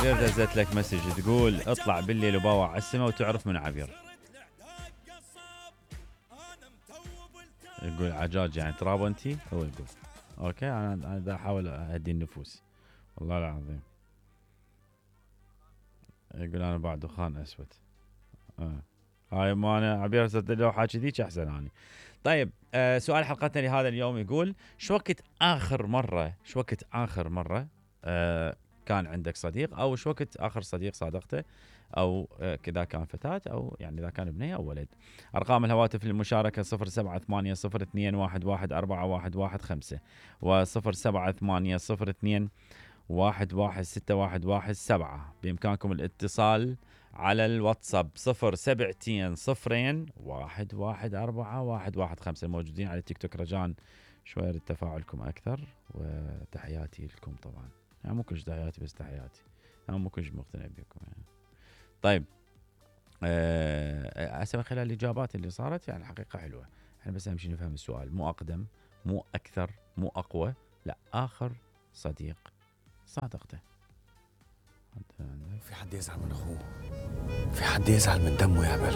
عبير دزت لك مسج تقول اطلع بالليل وباوع على السما وتعرف من عبير. يقول عجاج يعني تراب انتي، هو يقول اوكي. انا دا احاول اهدي النفوس والله العظيم. يقول انا بعد دخان اسود. هاي ما انا عبير لو حاكي ذيك احسن اني. طيب سؤال حلقتنا لهذا اليوم يقول شو وقت اخر مره كان عندك صديق، او شو وقت اخر صديق صادقته، او كذا كان فتاة، او يعني اذا كان بنية او ولد. ارقام الهواتف للمشاركة 0780211415 و0780211617. بامكانكم الاتصال على الواتساب 07201141115. الموجودين على التيك توك رجاء شوية تفاعلكم أكثر، وتحياتي لكم طبعا. يعني مو كلش تحياتي بس تحياتي، أنا مو كلش مقتنع بكم يعني. طيب أسمع خلال الإجابات اللي صارت يعني الحقيقة حلوة. احنا بس أهم شيء نفهم السؤال، مو أقدم مو أكثر مو أقوى، لا آخر صديق صادقته. في حد يزعل من أخوه، في حد يزعل من دمه يا بل.